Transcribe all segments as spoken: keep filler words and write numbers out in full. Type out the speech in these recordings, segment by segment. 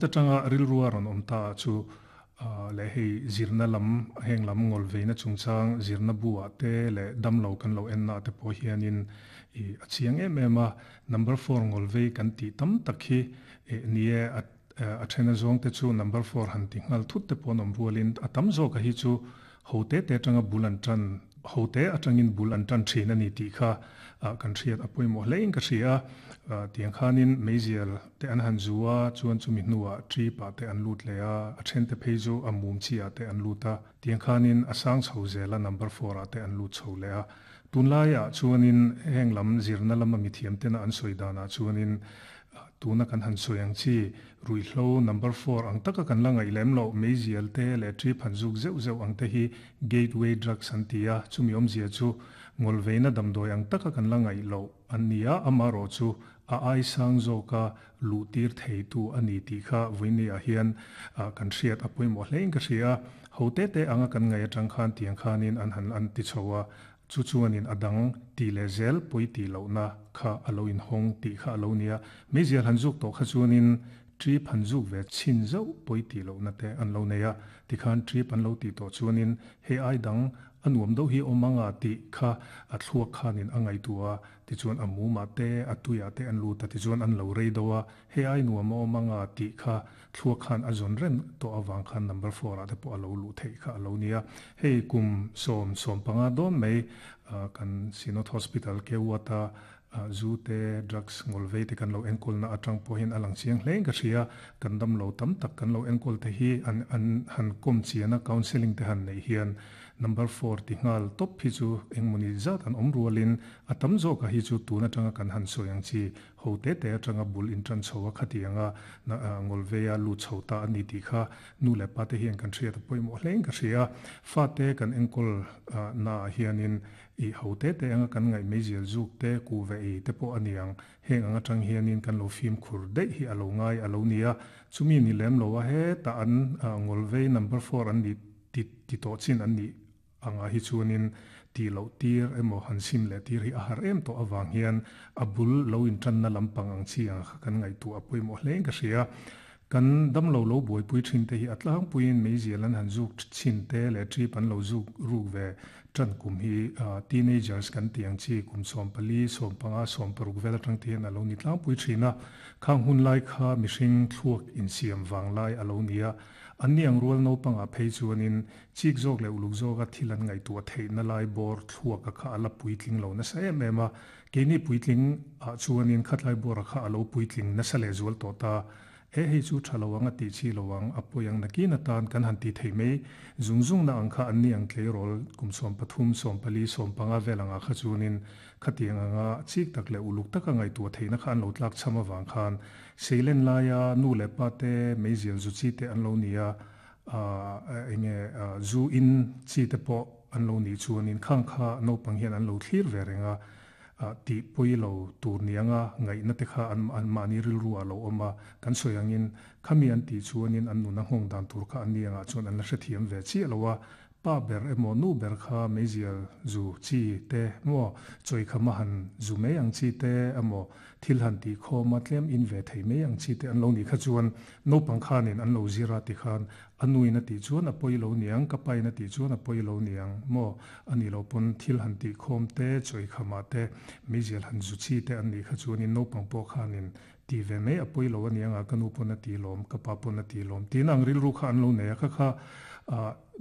Ta tanga rilrua ron om ta chu le hei zirna lam heng lam ngol veina chungchang zirna bua te le damlo kan lo en na te pawh hianin i a chiang em em a number four ngol vei kan ti tam tak hi e nie a a thena zawng te chu number four han ti ngal thut te pawn awm rualin a tam zawk a hi chu ho te te atanga bul an tan ho te atangin bul an tan thin ani tih kha kan hriat a pawimawh hle in ka hria tiang khanin meizial te an han zua chuan chumi hnuah trip ah te an lut leh a a then te phei chu a mum chi ah te an lut a tiang khanin a sang chho zela number four ah te an lut chho leh a tunlaiah chuanin heng lam zirna lama mithiam tena an sawi danah chuanin tuna kan han sawi ang chi ruihhlo number four ang taka kan la ngaih lem loh meizial te leh trip han zuk zeuh zeuh ang te hi gateway drugs an ti a chumi awmzia chu ngol veina damdawi ang taka kan la ngaih loh an ni a amarawh chu a ai sang zawka luh tir thei tu ani tih kha vawiini ah hian kan hriat a pawimawh hle in ka hria ho te te anga kan ngaih atang khan tiang khanin an han an ti chho a chu chuanin a dang ti leh zel pawi ti lohna kha a lo inhawng tih kha a lo nia meizial han zuk tawh kha chuanin trip han zuk ve chin zauh pawi ti lohna te an lo nei a tikhan trip an lo ti tawh chuanin hei ai dang a nuam deuh hi awm anga tih kha a thluak khanin a ngaihtuah a tichuan a mumah te a tuiah te an lut a tichuan an lo rei deuh a hei ai nuam a awm anga tih kha thluak khan a zawn reng tawh awang khan number four ah te pawh a lo luh theih kha a lo nia hei kum sawm sawm panga dawn mai kan Synod Hospital ke wata zu te drugs ngol vei te kan lo enkawl na atang pawhin a lang chiang hle in ka hria kan dam lo tam tak kan lo enkawl te hi an an han kom chiana counselling te han nei hian number four ti ngal top hi chu engmawni zat an awm rualin a tam zawk a hi chu tun atanga kan han sawi ang chi ho te te atanga bul in tan chho a khatianga ngol veia lu chho ta ani tih kha nu leh pa te hian kan hriat a pawimawh hle in ka hria fa te kan enkawl na hianin i ho te te anga kan ngaih meizial zuk te ku ve ei te pawh aniang heng anga tang hianin kan lo fim khur daih hi a lo ngai a lo nia chumi ni lem lo a he ta an ngol vei number four an ni ti ti tawh chin an ni anga hi chuanin ti lo tir emaw han sim leh tir hi a har em tawh awang hian a bul lo in tan na lampang ang chi ang kha kan ngaihtuah a pawimawh hle in ka hria kan dam lo lo buaipui thin te hi a tlangpuiin meizial an han zuk chin te leh trip an lo zuk ruk ve tan kum hi teenagers kan ti ang chi kum sawm pali sawm panga sawm paruk vel atang te hian a lo ni tlangpui thin a khang hun lai kha mihring thluak insiam vang lai a lo nia an ni ang rual naupanga phei chuanin chik zawk leh uluk zawka thil an ngaihtuah theihna lai bawr thluak a kha a la puitling lo nasa em em a keini puitling ah chuanin khatlai bawr a kha a lo puitling nasa leh zual tawh ta e hei chu tha lo anga ti chi lo ang a pawi ang nakin atan kan han ti thei mai zung zung na ang kha an ni ang tleirawl kum sawm pathum sawm pali sawm panga vel anga kha chuanin khatiang anga chik tak leh uluk taka ngaihtuah theihna kha an lo tlak cham awang khan seilen laia nu leh pa te meizial zu chi te an lo nia a enge zu in chi te pawh an lo ni chuanin khang kha naupang hian an lo thlir ve renga ti pui lo tur nianga ngaihna te kha an an mahni rilru a lo awm a kan sawi angin khami an tih chuanin an nuna nghawng dan tur kha an ni angah chuan an la hrethiam ve chiah lo a pa ber emaw nu ber kha meizial zu chi te maw chawi kha ma han zu mai ang chi te emaw thil han ti khawm a tlem in ve thei mai ang chi te an lo ni kha chuan naupang khanin an lo zira ti khan a nuin a tih chuan a pawi lo niang ka pain a tih chuan a pawi lo niang maw ani lo pawn thil han ti khawm te chawi khama te meizial han zu chi te an ni kha chuanin naupang pawh khanin ti ve mai a pawi lo aniang a ka nu pawn a ti lawm ka pa pawn a ti lawm tin ang rilru kha an lo nei a kha kha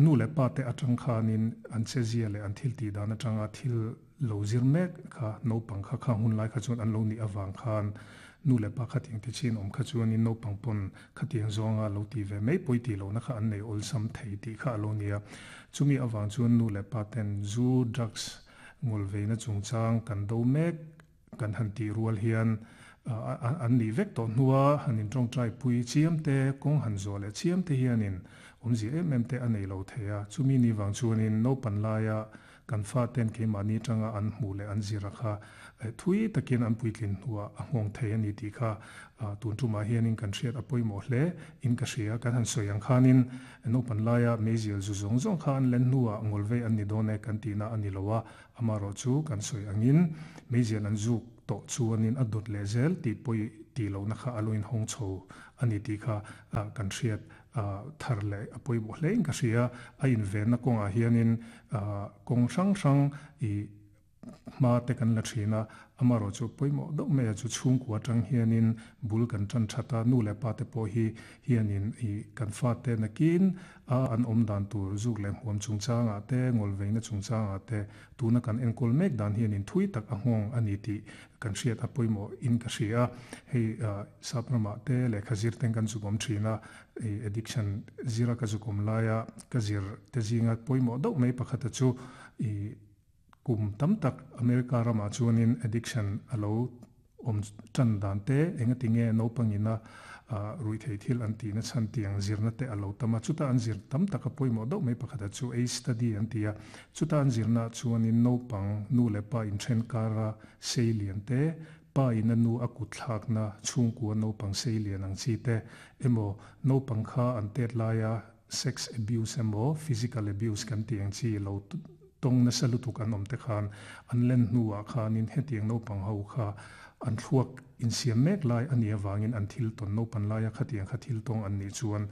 nu leh pa te atang khanin an che zia leh an thil ti dan atanga thil lo zir mek kha naupang kha kha hun lai kha chuan an lo ni awang khan nu leh pa khatiang te chin awm kha chuanin naupang pawn khatiang zawnga lo ti ve mai pawi ti lo na kha an nei awlsam thei tih kha a lo nia chumi awang chuan nu leh pa ten zu drugs ngol veina chungchang kan do mek kan han ti rual hian an ni vek tawh hnua hanin tawngtai pui chiam te kawng han zawh leh chiam te hianin awmzia em em te a nei lo thei a chumi ni wang chuanin naupan laia kan fa ten keimahni tanga an hmuh leh an zira kha thui takin an puitlin hnua a nghawng thei ani tih kha tun tumah hianin kan hriat a pawimawh hle in ka hria kan han sawi ang khanin naupan laia meizial zu zawng zawng kha an len hnuah ngol vei an ni dawn e kan tihna ani lo a amarawh chu kan sawi angin meizial an zuk tawh chuanin a dawt leh zel tih pawi ti lo na kha aloin hong chho ani ti kha kan hriat thar le apoi bo hlein ka hria a in ven na konga hianin kong hrang hrang i ma te kan la thina amaro chu poimo do me chu chung kwa tang hianin bul kan tran thata nu le pa te po hi hianin i kan fa te nakin a an om dan tur zuk le huam chung changa te ngol veina chung changa te tuna kan enkol mek dan hianin thui tak a hong ani ti kan hriat a poimo in ka hria hei saprama te le khazir teng kan chukom thina addiction zira ka chukom laia ka zir te zinga poimo do me pakhata chu i kum tam tak America rama chuanin addiction alo om chan dan te enga tinge no pangina rui thei thil an ti na chan tiang zirna te alo tama chuta an zir tam taka poimo do mai pakhata chu a study an tia chuta an zirna chuanin no pang nu le pa in then kara seilian te pa in nu akut thlak na chungku no pang seilian ang chi te emo no pang kha an tet laia sex abuse emo physical abuse kan tiang chi lo tong na salutuk an om te khan an len nuwa khanin hetiang no pang ho kha an thuak in siam mek lai ani awangin an thil ton no pan laia khatiang kha thil tong an ni chuan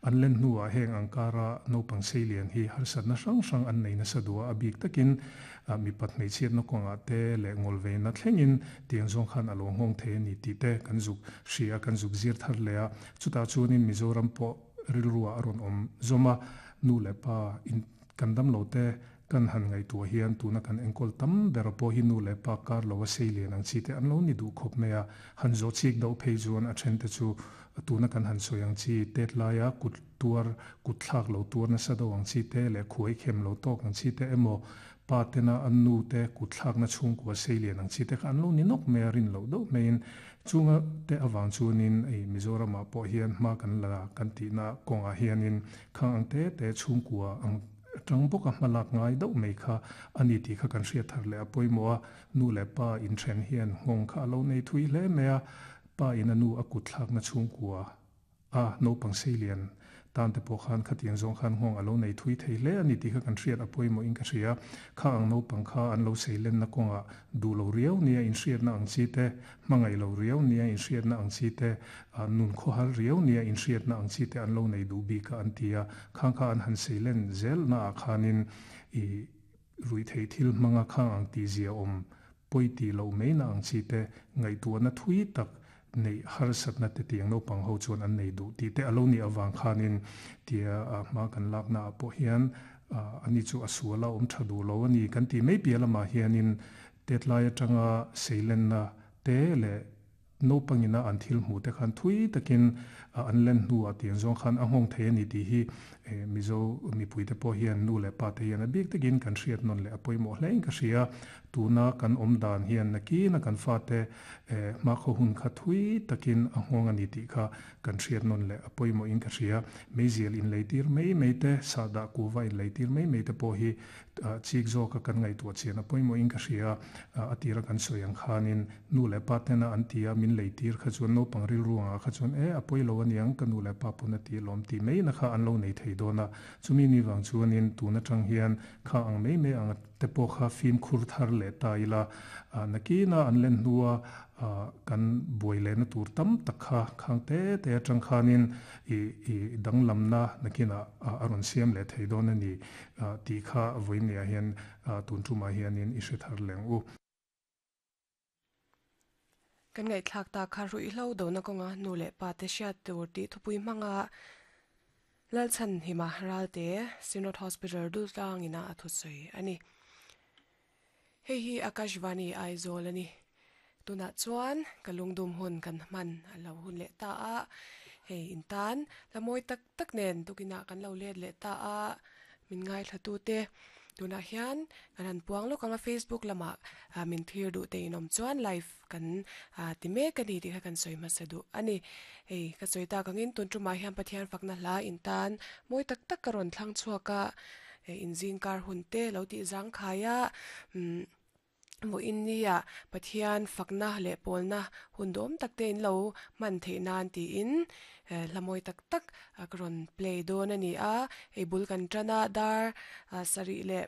an len nuwa heng angkara no pang seilian hi harsat na hrang hrang an nei na sadua abik takin mi pat mei chiat no konga te le ngol ve na thlengin tiang zong khan alo ngong the ni ti te kan zuk hria kan zuk zir thar lea chuta chuanin Mizoram po rilruwa aron om zoma nu le pa in kandam lo te kan han ngai tu hian tuna kan engkol tam ber po hi nu le pa kar lo wa seilian ang chi te an lo ni du khop mea han zo chik do phei chuan a then te chu tuna kan han soyang chi tet laia kut tuar kut thlak lo tuar na sa do ang chi te le khuai khem lo tok ang chi te emo pa tena an nu te kut thlak na chung kwa seilian ang chi te kha an lo ni nok me rin lo do mein chunga te awang chuanin ei Mizoram ah pawh hian hma kan la kan ti na kawnga hianin khang ang te te chhungkua ang tang boka hmalak ngai do mei kha ani ti kha kan hriat thar le apoimo a nu le pa in then hian ngong kha lo nei thui hle mea pa in anu akut thlak na chhungkua a no pang seilian tan te pawh khan khatiang zawng khan nghawng alo nei thui thei hle ani ti kha kan hriat apoimo in ka hria kha ang no pang kha an lo seilen na kawnga du lo riau nia in hriat na ang chi te hmangai lo riau nia in hriat na ang chi te nun khaw har riau nia in hriat na ang chi te an lo nei du bi ka an tia khang kha an han seilen zel na a khanin i rui thei thil hmanga khang ang ti zia awm poi ti lo mai na ang chi te ngaihtuah na thui tak nei harsat na te tiang no pang ho chuan an nei du ti te alo ni awang khanin tia ma kan lak na pawh hian ani chu asuala awm tha du lo ani kan ti mai pialama hianin tetlai atanga seilen na te le no pangina an thil hmu te khan thui takin an len hnuah tiang zawng khan a nghawng thei ani tih hi Mizo mipui te pawh hian nu leh pa te hian a bik takin kan hriat nawn leh a pawimawh hle in ka hria tuna kan awm dan hian nakina kan fa te hma khaw hun kha thui takin a nghawng ani tih kha kan hriat nawn leh a pawimawh in ka hria meizial in leitir mai mai te sahdah kuva in leitir mai mai te pawh hi chik zawka kan ngaihtuah chian a pawimawh in ka hria a tira kan sawi ang khanin nu leh pa tena an tia min leitir kha chuan naupang rilruangah kha chuan e a pawilo aniang ka nu leh pa pawn a ti lawm ti mai na kha an lo nei thei dawn a chumi ni wang chuanin tuna tang hian kha ang mai mai ang te pawh kha fim khur thar leh ta ila nakina an len hnua kan buai leh na tur tam tak kha khang te te atang khanin i i danglam na nakina a rawn siam leh thei dawn ani tih kha vawinia hian tun tumah hianin i hre thar leng u. Kan ngai thlak ta kha rui hlo do na kawnga nu leh pa te hriat tur tih thupui hmanga Lalchan hima ralte Synod Hospital dul tlangina a thusawi ani. Hei hi Akashvani Aizawl ani. Tuna chuan kalungdum hun kan hman alo hun leh ta a hei intan lamoi tak tak nen tukina kan lo let leh ta a min ngai thlatu te tuna hian kan han puang lawk anga Facebook lama min thlir duh te in awm chuan live kan ti mek ani tih kha kan sawi hmasa duh ani. Hei ka sawi tak angin tun tumah hian Pathian fakna hla intan mawi tak tak ka rawn thlang chhuak a in zingkar hun te lo tih zang khai a mo in nia Pathian fakna leh pawlna hun dawm tak te in lo hman theih nan tiin hla mawi tak tak ka rawn play dawn ani a hei bul kan tana dar sarih leh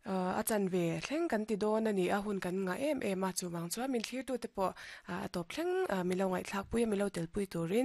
A chan ve thleng kan ti dawn ani a hun kan nga em em a chuwang chuan min thlir tu te pawh a tawp thleng milo ngaihthlak pui a milo tel pui turin